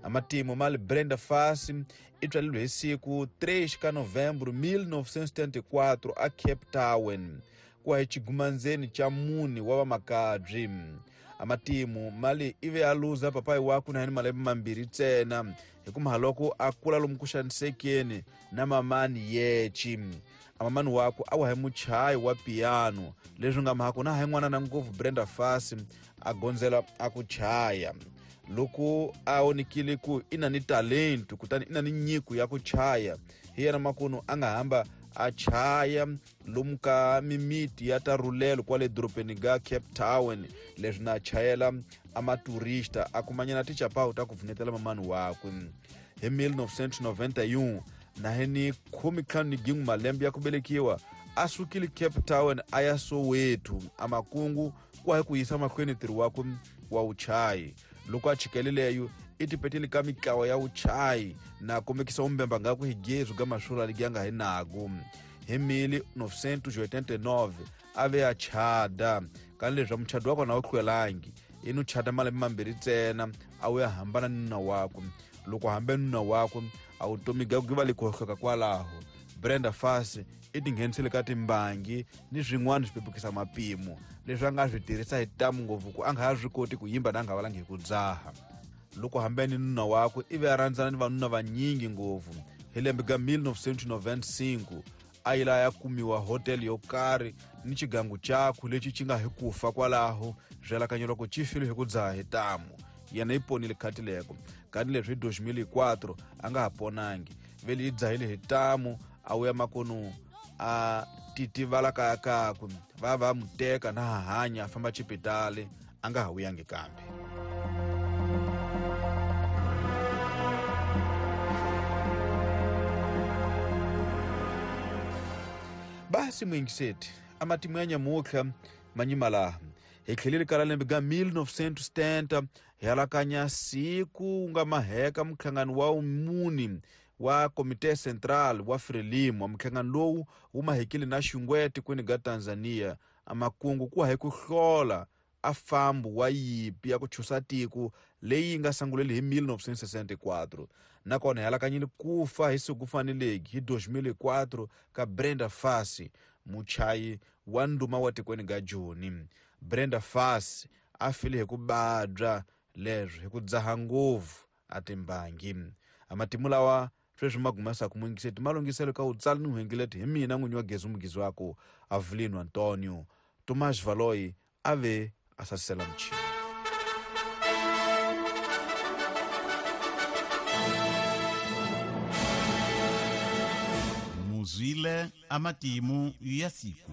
Amatimu mali Brenda Fassie i tswaleriwe hi siku 3 ka Novembro 1974 a Cape Town, ku hi xigumandzeni xa mune wa vamakabyi. Amatimu mali i ve a luza papayi wakwe na hi ni malembe mambirhi ntsena, hikuva loko a kula lomu ku xanisekeni na mamani yeci. Amamani wakwe a wa hi muchayi wa piano, leswi nga mhaka na hi n'wana na ngopfu Brenda Fassie a gondzela a ku chaya. Loko a onekile ku i na ni talento, kutani i na ni nyiko ya ku chaya, hi yena makunu a nga hamba a chaya lomu ka mimiti ya ta rhulelo kwale dorobeni ga Cape Town. Leswi na chayela a maturista a kumanyana tichapawu ta ku pfunetela mamani wakwe. Hi 1991 na hi ni 15 malembe ya ku velekiwa, a sukile Cape Town a ya Soweto a makungu ku hi ku yisa mahlweni ntirho wakwe wa vuchayi. Loko a chikelileyo i tipetile ka mitlawa ya vuchayi na kombekisa umbemba ngaku hi gezu ga maswula ligi ya nga hi naku. Hi 1989 a ve a chada, ka leswi muchado wa kona wu hlwelangi, i no chada malembe mambirhi ntsena a wu ya hambana ni nuna wakwe. Loko hambe nuna wakwe a vutomi bya ku va le ku hohloka kwalaho. Brenda Fassie i tinghenisile ka timbangi ni swin'wana swi pepukisa mapimo leswi a nga swi tirhisa hi tamu ngopfu ku a nga ha swi koti ku yimba na a nga valangi hi ku dzaha. Loko hambe ni nuna wakwe i ve a rhandzana ni vanuna vanyingi ngopfu. Hi lembe ka 1995 a yi la ya kumiwa hotel yo karhi ni xigangu xakwe lexi xi nga hi ku fa kwalaho, swi alakanya loko xi file hi ku dzaha hi tamu. Yena yi ponile khati leko, kanti leswi hi 2004 a nga ha ponangi, vele yi dzahile hi tamu a wuya makonu a titivala kaya kakwe, va va mu teka na ha hanya a famba xipitali, a nga ha vuyangi kambe. Basi muyingiseti, a matimu ya nyamutlha manyima laha hi tlheleli ka lembe ga 1970 hi alakanya siku wu nga maheka muhlangano wa muni wa Komite Central wa Frelimo. Muhlangano lowu wu mahekile na xingwete kwini ga Tanzania, amakungu ku hi ku hlola a fambu wa yipi ya ku chusa tiko leyi nga sunguleli hi 1964. Nakona hi alakanyile ku fa hi siku faneleki hi 2004 ka Brenda Fassie, muchayi wa ndhuma wa tikweni ga Joni. Brenda Fassie a file hi ku babya leswi hi ku dzaha ngopfu a timbangi. Amatimu lawa sweswi ma gumesa ku muyingiseti malunghiselo ka wutsali ni huhengileti hi mina n'winyi wa gezi mugizi wako Avelino Antonio. Tomás Valoy a ve a sasisela muchini. Muzwile amatimu ya siku.